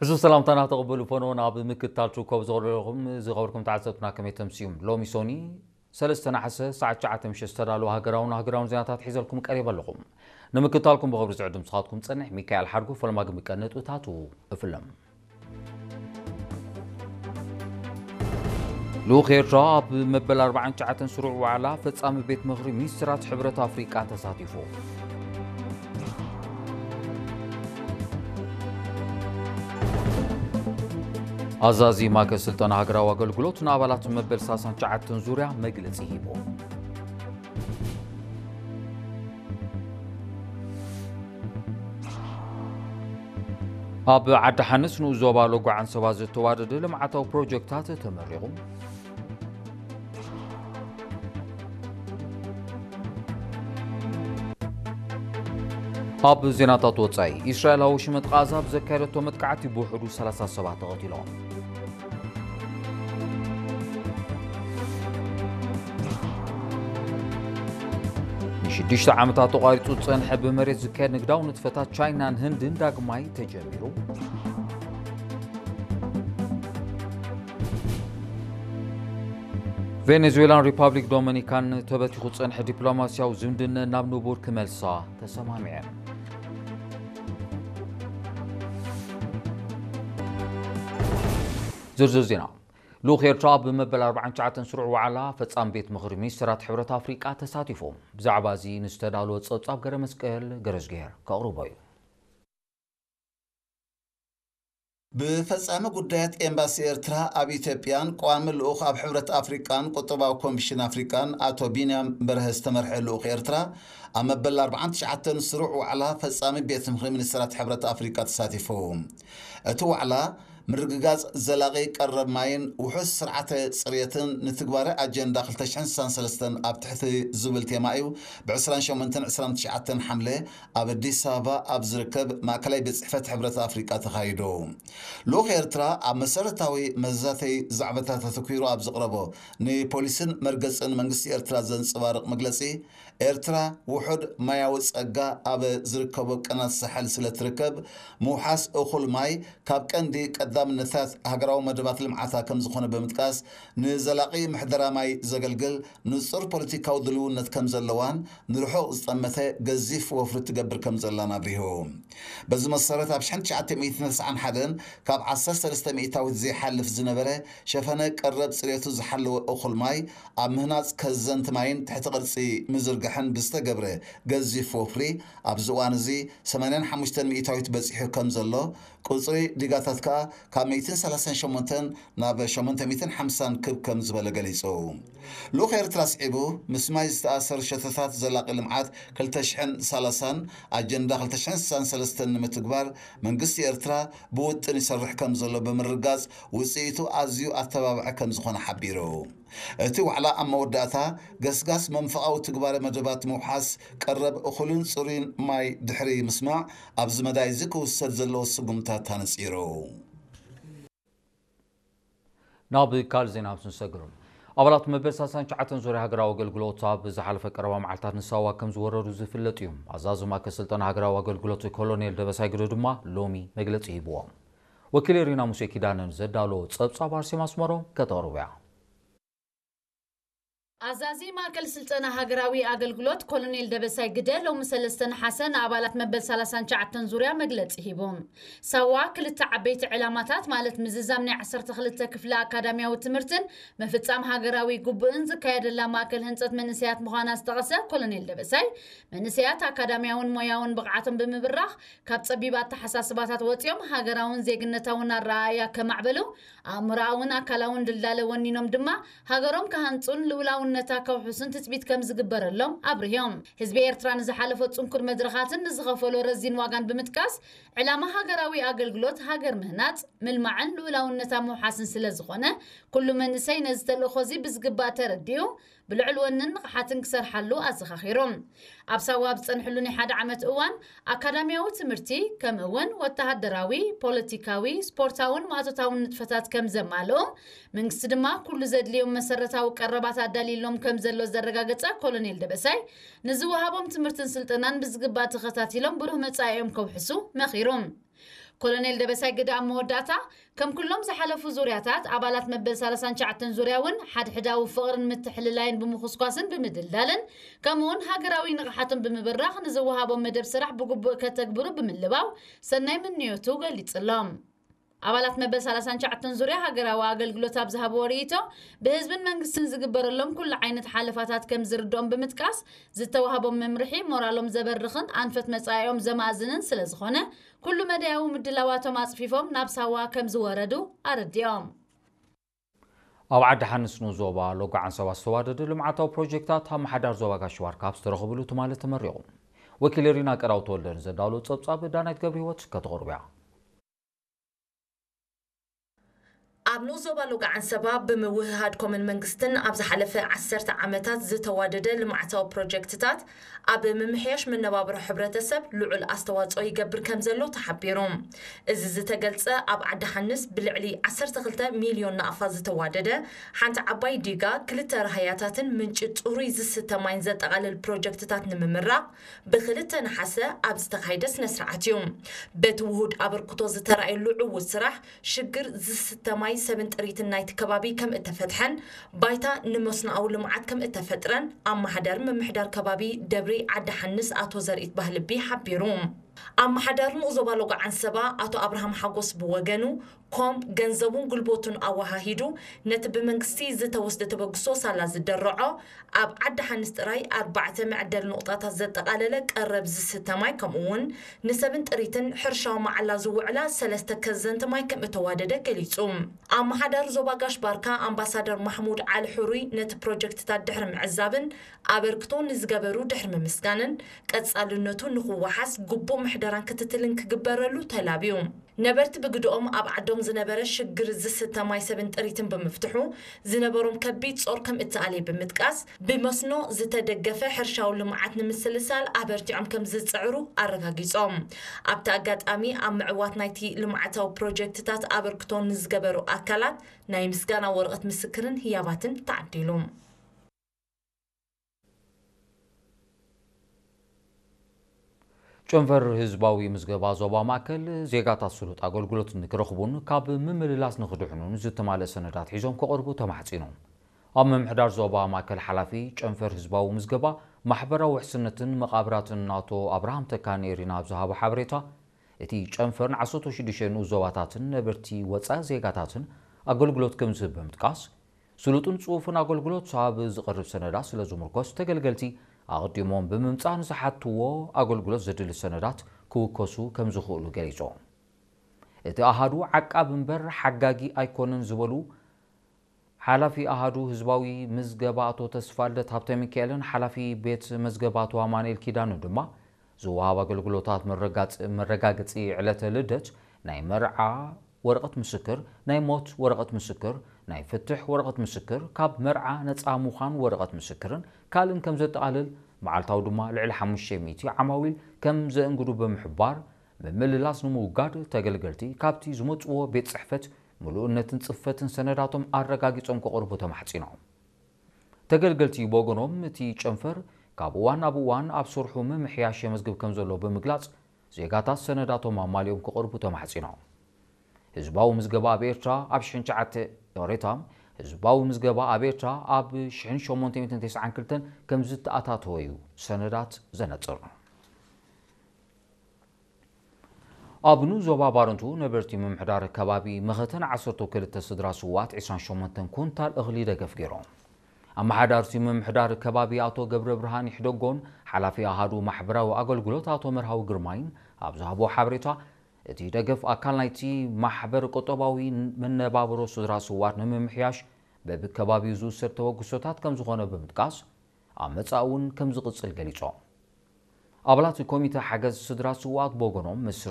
ሕዙ ሰላምታና ተቐበሉ ፈኖን ኣብ ምክትታል ትርከቡ ዝቐረበኹም ዝኸበርኩም ተዓዘብትና ከመይ ተምስዩም? ሎሚ ሶኒ ሰለስተ ነሓሰ ሰዓት ትሽዓተ ምሸት ዝተዳለወ ሃገራውን ሃገራውን ዜናታት ሒዘልኩም ቀሪበ ኣለኹም። ንምክትታልኩም ብኽብሪ ዝዕድም ስኻትኩም ጸንሕ ሚካኤል ሓድጉ ፈለማ ግን ብቀነጥብታቱ እፍለም። ልኡኽ ኤርትራ ኣብ መበል ኣርባዓን ትሽዓተን ስሩዕ ዋዕላ ፈጻሚ ቤት ምኽሪ ሚኒስትራት ሕብረት ኣፍሪቃ ተሳቲፉ። ኣዛዚ ማእከል ስልጠና ሃገራዊ ኣገልግሎት ንኣባላት መበል ሰላሳን ትሽዓተን ዙርያ መግለጺ ሂቡ። ኣብ ዓዲ ሓንስ ንኡስ ዞባ ሎጓ ዓንሰባ ዝተዋደደ ልምዓታዊ ፕሮጀክታት ተመሪቑ። ኣብ ዜናታት ወጻኢ፣ እስራኤል ኣብ ሽመጥ ቃዛ ብዘካየደቶ መጥቃዕቲ ብውሕዱ ሰላሳ ሰባት ተቐቲሎም። ንሽዱሽተ ዓመታት ተቋሪጹ ዝጸንሐ ብመሬት ዝካየድ ንግዳዊ ንጥፈታት ቻይናን ህንድን ዳግማይ ተጀሚሩ። ቬኔዙዌላን ሪፓብሊክ ዶሚኒካን ተበቲኹ ዝጸንሐ ዲፕሎማስያዊ ዝምድነን ናብ ንቡር ክመልሳ ተሰማሚዐን። ዝርዝር ዜና። ልኡኽ ኤርትራ ኣብ መበል ኣርባዓን ትሽዓተን ስሩዕ ዋዕላ ፈጻሚ ቤት ምኽሪ ሚኒስትራት ሕብረት ኣፍሪቃ ተሳቲፉ። ብዛዕባ እዚ ንዝተዳለወ ጸብጻብ ገረ መስቀል ገረዝግሄር ከቕርቦ እዩ። ብፈጻሚ ጉዳያት ኤምባሲ ኤርትራ ኣብ ኢትዮጵያን ቀዋሚ ልኡኽ ኣብ ሕብረት ኣፍሪቃን ቁጠባዊ ኮሚሽን ኣፍሪቃን ኣቶ ቢንያም በርሀ ዝተመርሐ ልኡኽ ኤርትራ ኣብ መበል ኣርባዓን ትሽዓተን ስሩዕ ዋዕላ ፈጻሚ ቤት ምኽሪ ሚኒስትራት ሕብረት ኣፍሪቃ ተሳቲፉ። እቲ ዋዕላ ምርግጋጽ ዘላቒ ቀረብ ማይን ውሑስ ስርዓተ ጽርየትን ንትግባረ ኣጀንዳ ክልተ ሽሕን ስሳን ሰለስተን ኣብ ትሕቲ ዝብል ቴማ እዩ ብ ዕስራን ሸሞንተን ዕስራን ትሽዓተን ሓምለ ኣብ ኣዲስ ኣበባ ኣብ ዝርከብ ማእከላይ ቤት ጽሕፈት ሕብረት ኣፍሪቃ ተኻይዱ። ልኡኽ ኤርትራ ኣብ መሰረታዊ መዛተይ ዛዕባታት ኣተኲሩ ኣብ ዘቕረቦ ንፖሊስን መርገጽን መንግስቲ ኤርትራ ዘንጸባርቕ መግለጺ፣ ኤርትራ ውሑድ ማያዊ ጸጋ ኣብ ዝርከቦ ቀናት ሳሕል ስለ ትርከብ፣ ምውሓስ እኹል ማይ ካብ ቀንዲ ቀዳምነታት ሃገራዊ መደባት ልምዓታ ከም ዝኾነ ብምጥቃስ፣ ንዘላቒ ምሕደራ ማይ ዘገልግል ንጹር ፖለቲካዊ ድልውነት ከም ዘለዋን ንርሑቕ ዝጠመተ ገዚፍ ወፍሪ ትገብር ከም ዘላን ኣብሪሁ። በዚ መሰረት፣ ኣብ ሽሕን ትሽዓተ ሚእትን ተስዓን ሓደን ካብ ዓሰርተ ሰለስተ ሚእታዊት ዘይሓልፍ ዝነበረ ሸፈነ ቀረብ ጽሬቱ ዝሓለወ እኹል ማይ ኣብ ምህናጽ ከዘንቲ ማይን ትሕቲ ቅርጺ ምዝርጋሕን ብዝተገብረ ገዚፍ ወፍሪ፣ ኣብዚ እዋን እዚ ሰማንያን ሓሙሽተን ሚእታዊት በጺሑ ከም ዘሎ፣ ቁጽሪ ዲጋታት ከኣ ካብ ሚእትን ሰላሳን ሸሞንተን ናብ ሸሞንተ ሚእትን ሓምሳን ክብ ከም ዝበለ ገሊጹ። ልኡኽ ኤርትራ ኣስዒቡ፣ ምስ ማይ ዝተኣሰሩ ሸቶታት ዘላቒ ልምዓት ክልተ ሽሕን ሰላሳን ኣጀንዳ ክልተ ሽሕን ስሳን ሰለስተን ንምትግባር መንግስቲ ኤርትራ ብውጥን ይሰርሕ ከም ዘሎ ብምርጋጽ፣ ውጽኢቱ ኣዝዩ ኣተባባዒ ከም ዝኾነ ሓቢሩ። እቲ ዋዕላ ኣብ መወዳእታ፣ ገስጋስ መንፈቓዊ ትግባረ መደባት ምውሓስ ቀረብ እኹልን ጽሩይን ማይ ድሕሪ ምስማዕ፣ ኣብዚ መዳይ እዚ ክውሰድ ዘለዎ ስጉምታት ኣነጺሩ። ናብ ካልእ ዜና ምስ ንሰግር፣ ኣባላት መበል ሰላሳን ትሽዓተን ዙርያ ሃገራዊ ኣገልግሎት ኣብ ዝሓለፈ ቀረባ መዓልታት ንሳዋ ከም ዝወረዱ ዝፍለጥ እዩ። ኣዛዚ ማእከል ስልጠና ሃገራዊ ኣገልግሎት ኮሎኔል ደበሳይ ግደ ድማ ሎሚ መግለጺ ሂብዎም። ወኪል ሪና ሙሴ ኪዳነን ዘዳሎ ጸብጻብ ኣርሴማ ኣስመሮም ከተቕርቦ እያ። ኣዛዚ ማእከል ስልጠና ሃገራዊ ኣገልግሎት ኮሎኔል ደበሳይ ግደ ሎሚ ሰለስተ ነሓሰ ንኣባላት መበል ሰላሳን ትሽዓተን ዙርያ መግለጺ ሂቦም። ሳዋ ክልተ ዓበይቲ ዕላማታት፣ ማለት ምዝዛም ናይ ዓሰርተ ክልተ ክፍሊ ኣካዳሚያዊ ትምህርትን ምፍጻም ሃገራዊ ግቡእን ዝካየደላ ማእከል ህንጸት መንእሰያት ምዃና ዝጠቐሰ ኮሎኔል ደበሳይ፣ መንእሰያት ኣካዳሚያውን ሞያውን ብቕዓቶም ብምብራኽ፣ ካብ ጸቢብ ኣተሓሳስባታት ወጺኦም ሃገራውን ዜግነታውን ኣረኣእያ ከማዕበሉ፣ ኣእምሮኣውን ኣካላውን ድልዳለ ወኒኖም ድማ ሃገሮም ክሃንጹን ልኡላውነታ ከውሕሱን ትጽቢት ከም ዝግበረሎም ኣብሪሆም። ህዝቢ ኤርትራ ንዝሓለፎ ጽንኩር መድረኻትን ንዝኸፈሎ ረዚን ዋጋን ብምጥቃስ፣ ዕላማ ሃገራዊ ኣገልግሎት ሃገር ምህናጽ፣ ምልማዕን ልኡላውነታ ምውሓስን ስለ ዝኾነ፣ ኩሉ መንእሰይ ነዚ ተልእኾ እዚ ብዝግባእ ተረዲኡ፣ ብልዑል ወንን ንቕሓትን ክሰርሓሉ ኣዘኻኺሮም። ኣብ ሳዋ ኣብ ዝጸንሕሉ ናይ ሓደ ዓመት እዋን፣ ኣካዳሚያዊ ትምህርቲ፣ ከምኡ እውን ወተሃደራዊ፣ ፖለቲካዊ፣ ስፖርታውን ማእቶታውን ንጥፈታት ከም ዘማልኡ፣ መንግስቲ ድማ ኩሉ ዘድልዮም መሰረታዊ ቀረባት ኣዳልዩሎም ከም ዘሎ ዘረጋገጸ ኮሎኔል ደበሳይ፣ ንዝወሃቦም ትምህርትን ስልጠናን ብዝግባእ ተኸታቲሎም ብሩህ መጻኢኦም ከውሕሱ መኺሮም። ኮሎኔል ደበሳይ ግደ ኣብ መወዳእታ፣ ከም ኩሎም ዝሓለፉ ዙርያታት፣ ኣባላት መበል ሰላሳን ትሽዓተን ዙርያ እውን ሓድሕዳዊ ፍቕርን ምትሕልላይን ብምኹስኳስን ብምድልዳልን፣ ከምኡውን ሃገራዊ ንቕሓቶም ብምብራኽ ንዝወሃቦም መደብ ስራሕ ብግቡእ ከተግብሩ ብምልባው ሰናይ ምንዮቱ ገሊጹሎም። ኣባላት መበል ሰላሳን ትሽዓተን ዙርያ ሃገራዊ ኣገልግሎት ኣብ ዝሃብዎ ርእይቶ፣ ብህዝብን መንግስትን ዝግበረሎም ኩሉ ዓይነት ሓለፋታት ከም ዝርድኦም ብምጥቃስ፣ ዝተዋህቦም መምርሒ ሞራሎም ዘበርኽን ኣንፈት መጻኢኦም ዘማእዝንን ስለ ዝኾነ፣ ኩሉ መዳያዊ ምድላዋቶም ኣጽፊፎም ናብ ሳዋ ከም ዝወረዱ ኣረዲኦም። ኣብ ዓዲ ሓንስ ንኡስ ዞባ ሎጎ ዓንሰባ ዝተዋደደ ልምዓታዊ ፕሮጀክታት ኣመሓዳሪ ዞባ ጋሽ ባርካ ኣብ ዝተረኸብሉ ትማሊ ተመሪቑ። ወኪል ሪና ቀዳው ተወልደ ንዘዳለዎ ጸብጻብ ዳናይት ገብረ ህይወት ከተቕርብያ። ኣብ ንኡስ ዞባ ሎጎ ዓንሰባ ብምውህሃድ ኮመን መንግስትን ኣብ ዝሓለፈ ዓሰርተ ዓመታት ዝተዋደደ ልምዓታዊ ፕሮጀክትታት ኣብ ምምሕያሽ መነባብሮ ሕብረተሰብ ልዑል ኣስተዋጽኦ ይገብር ከም ዘሎ ተሓቢሩ። እዚ ዝተገልጸ ኣብ ዓዲ ሓንስ ብልዕሊ ዓሰርተ ክልተ ሚልዮን ናቕፋ ዝተዋደደ ሓንቲ ዓባይ ዲጋ፣ ክልተ ራህያታትን ምንጪ ጽሩይ ዝስተ ማይን ዘጠቓልል ፕሮጀክትታት ንምምራቕ ብክልተ ነሓሰ ኣብ ዝተኻየደ ስነ ስርዓት እዩ። በቲ ውሁድ ኣበርክቶ ዝተራእየሉ ዕዉት ስራሕ ሽግር ዝስተ ማይ ሰብን ጥሪትን ናይቲ ከባቢ ከም እተፈትሐን ባይታ ንመስኖኣዊ ልምዓት ከም እተፈጥረን ኣመሓዳሪ ምምሕዳር ከባቢ ደብሪ ዓዲ ሓንስ ኣቶ ዘርኢት ባህልቢ ሓቢሩ። ኣመሓዳሪ ንኡስ ዞባ ሎጎ ዓንሰባ ኣቶ ኣብርሃም ሓጎስ ብወገኑ፣ ኮም ገንዘቡን ጉልበቱን ኣወሃሂዱ ነቲ ብመንግስቲ ዝተወስደ ተበግሶ ሳላ ዝደረዖ ኣብ ዓዲ ሓንስ ጥራይ ኣርባዕተ መዕደሊ ንቑጣታት ዘጠቓለለ ቀረብ ዝስተ ማይ፣ ከምኡ እውን ንሰብን ጥሪትን ሕርሻዊ መዓላ ዝውዕላ ሰለስተ ከዘንቲ ማይ ከም እተዋደደ ገሊጹ። ኣመሓዳሪ ዞባ ጋሽ ባርካ ኣምባሳደር ማሕሙድ ዓሊ ሕሩይ ነቲ ፕሮጀክትታት ድሕሪ ምዕዛብን ኣበርክቶ ንዝገበሩ ድሕሪ ምምስጋንን፣ ቀጻልነቱ ንኽወሓስ ግቡእ ምሕደራን ክትትልን ክግበረሉ ተላብዩ። ነበርቲ ብግድኦም ኣብ ዓዶም ዝነበረ ሽግር ዝስተ ማይ ሰብን ጥሪትን ብምፍትሑ ዝነበሮም ከቢድ ጾር ከም እተኣልየ ብምጥቃስ፣ ብመስኖ ዝተደገፈ ሕርሻዊ ልምዓት ንምስልሳል ኣበርቲዖም ከም ዝጽዕሩ ኣረጋጊጾም። ኣብቲ ኣጋጣሚ ኣብ ምዕዋት ናይቲ ልምዓታዊ ፕሮጀክትታት ኣበርክቶ ንዝገበሩ ኣካላት ናይ ምስጋና ወረቐት ምስክርን ህያባትን ተዓዲሉ። ጨንፈር ህዝባዊ ምዝገባ ዞባ ማእከል ዜጋታት ስሉጥ ኣገልግሎት ንክረኽቡን ካብ ምምልላስ ንክድሕኑን ዝተማልአ ሰነዳት ሒዞም ክቐርቡ ተማሕጺኑ። ኣብ ምምሕዳር ዞባ ማእከል ሓላፊ ጨንፈር ህዝባዊ ምዝገባ ማሕበራዊ ውሕስነትን መቓብራትን ኣቶ ኣብርሃም ተካ ንኤሪና ኣብ ዝሃቦ ሓበሬታ፣ እቲ ጨንፈር ንዓሰርተ ሽዱሽተ ንኡስ ዞባታትን ነበርቲ ወጻኢ ዜጋታትን ኣገልግሎት ከም ዝህብ ብምጥቃስ፣ ስሉጥን ጽፉፍን ኣገልግሎት ኣብ ዝቐርብ ሰነዳት ስለ ዝምርኮስ፣ ተገልገልቲ ኣቐዲሞም ብምምጻእ ንዝሓትዎ ኣገልግሎት ዘድሊ ሰነዳት ክውከሱ ከም ዝኽእሉ ገሊጹ። እቲ ኣሃዱ ዓቃብ እምበር ሓጋጊ ኣይኮነን ዝበሉ ሓላፊ ኣሃዱ ህዝባዊ ምዝገባ ኣቶ ተስፋልደት ሃብተሚካኤልን ሓላፊ ቤት መዝገባ ኣቶ ኣማኑኤል ኪዳኑ ድማ፣ ዝወሃብ ኣገልግሎታት መረጋጽ-፣ መረጋገጺ ዕለተ ልደት፣ ናይ መርዓ ወረቐት ምስክር፣ ናይ ሞት ወረቐት ምስክር፣ ናይ ፍትሕ ወረቐት ምስክር፣ ካብ መርዓ ነጻ ምዃን ወረቐት ምስክርን ካልእን ከም ዘጠቓልል፣ መዓልታዊ ድማ ልዕሊ ሓሙሽተ ሚእቲ ዓማዊል ከም ዘእንግዱ ብምሕባር፣ ምምልላስ ንምውጋድ ተገልገልቲ ካብቲ ዝመጽዎ ቤት ጽሕፈት ምሉእነትን ጽፈትን ሰነዳቶም ኣረጋጊጾም ክቕርቡ ተማሕጺኖም። ተገልገልቲ ብወገኖም፣ እቲ ጨንፈር ካብ እዋን ናብ እዋን ኣብ ስርሑ ምምሕያሽ የመዝግብ ከም ዘሎ ብምግላጽ፣ ዜጋታት ሰነዳቶም ኣማሊኦም ክቕርቡ ተማሕጺኖም። ህዝባዊ ምዝገባ ኣብ ኤርትራ ኣብ ሽሕን ትሽዓተ፣ ዮሬታ፣ ህዝባዊ ምዝገባ ኣብ ኤርትራ ኣብ ሽሕን ሸሞንተ ሚእትን ተስዓን ክልተን ከም ዝተኣታተወ እዩ ሰነዳት ዘነጽር። ኣብ ንኡስ ዞባ ባረንቱ ነበርቲ ምምሕዳር ከባቢ መኸተን ዓሰርተ ክልተ ስድራ ስውኣት ዕስራን ሸሞንተን ኩንታል እኽሊ ደገፍ ገይሮም። ኣመሓዳርቲ ምምሕዳር ከባቢ ኣቶ ገብረ ብርሃን ይሕደጎን ሓላፊ ኣሃዱ ማሕበራዊ ኣገልግሎት ኣቶ መርሃዊ ግርማይን ኣብ ዝሃቦ ሓበሬታ፣ እቲ ደገፍ ኣካል ናይቲ ማሕበር ቁጠባዊ መነባብሮ ስድራ ስውኣት ንምምሕያሽ በብከባቢኡ ዝውሰድ ተበግሶታት ከም ዝኾነ ብምጥቃስ፣ ኣብ መጻኢ እውን ከም ዝቕጽል ገሊጾም። ኣባላት ኮሚተ ሓገዝ ስድራ ስውኣት ብወገኖም፣ ምስ